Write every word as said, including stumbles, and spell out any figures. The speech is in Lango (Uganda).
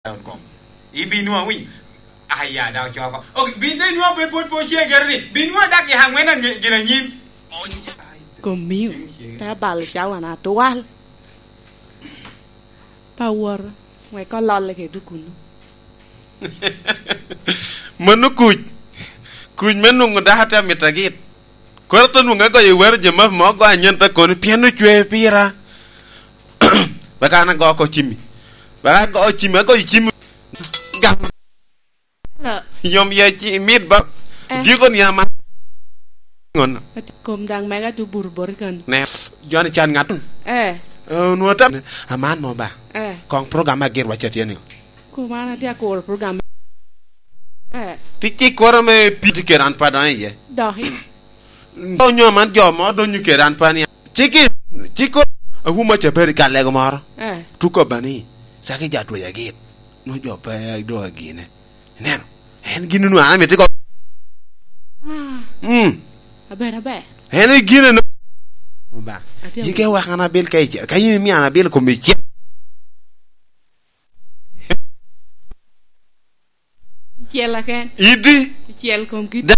Dot com. Ibinwa wi. Aya, da ocoko. Ok, bin de nwa pe pwod po ce gero ni. Binwa dak ya angwen ange-, gin anyim. Kom miu, te balo cawa na twal. Pa woro, wek ololle kede kuno. Mano kuc. Kuc me nwoŋo dako te amito agit. Koro te nwoŋo agoyo wero jamafi mo, agoyo anyen te koni, pien ocwe pira. Wek an ago oko cimmi. Wek ago cimmi, agoyo cimmi. Gam. Hello. Yom ya ci mit ba. Eh. Giko ni ama. Ngono. Ati kom daŋ mega tu bur bor kan. Ne. Joni can ŋat. Eh. Eh, nwo tam. Aman mo ba. Eh. Kong program agir wacho tye ni. Kom an ati akuro program. Eh. Ti ci koro me piti kera an pa dɔŋ iye. Dɔki. Onyo man jo mo donyo kera an pa ni. Ciki, ciko, awuma ca beri ka lego moro. Eh. Tuko bani, caki ja tweya git. No jo pe do agine. Ineno? En gin nu an amito go. Ah. Mm. Aber, aber. En e gine no. Ba. Atye. Yike wek an abil ka ice-, ka in imiyo an abil kom ice-. Icel aken. Idi. Icel kom kit. Da,